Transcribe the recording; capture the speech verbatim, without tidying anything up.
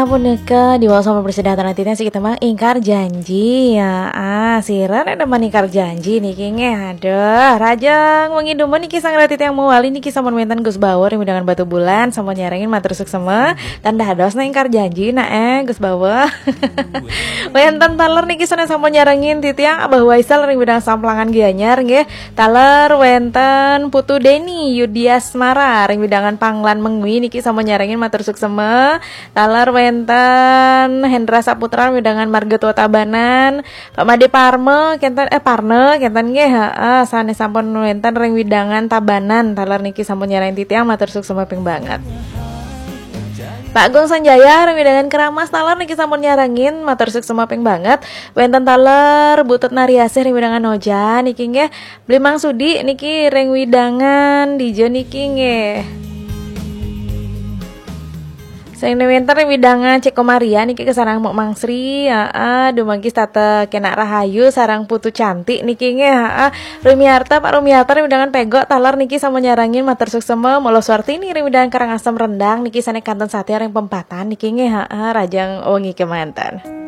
Ampun neka, di wau sama bersedah tanah titiang siki temang ingkar janji ya. Ah, sira ada mani ingkar janji niki nggih. Aduh, rajang wengi dumun niki sang rati tiang mawali niki sampun wenten Gus Bawa ring wewidangan Batubulan sampun nyarengin matur suksema. Tan dados na ingkar janji na eh Gus Bawa. Wenten taler niki sané sampun nyarengin titiang Abah Waisal ring wewidangan Samplangan Gianyar nggih. Taler wenten Putu Deni Yudiasmara ring wewidangan Panglan Mengwi niki sampun nyarengin matur suksema. Taler wenten Hendra Saputra wewidangan Marga Tua Tabanan, Pak Made Parme kenten eh Parne kenten nggih heeh sané sampun wenten ring wewidangan Tabanan taler niki sampun nyarengin titiang matur suksema ping banget. Pak Gung Sanjaya ring wewidangan Keramas taler niki sampun nyarengin matur suksema ping banget. Wenten taler Butut Nariasih ring wewidangan Noja niki nggih. Beli Mang Sudi niki ring wewidangan dija niki nggih. Sing wenten ring wewidangan Ceko Maria niki kasareng Mok Mang Sri, heeh, dumagi setata kenak rahayu sareng putu cantik niki nggih, heeh. Rumiarta Pak Rumiarta ring wewidangan Pegok taler niki sampun nyarengin matur suksema, Mula Suartini ring wewidangan Karangasem Rendang niki sané kantun satia ring pempatan niki nggih, heeh, rajang wengi kemanten.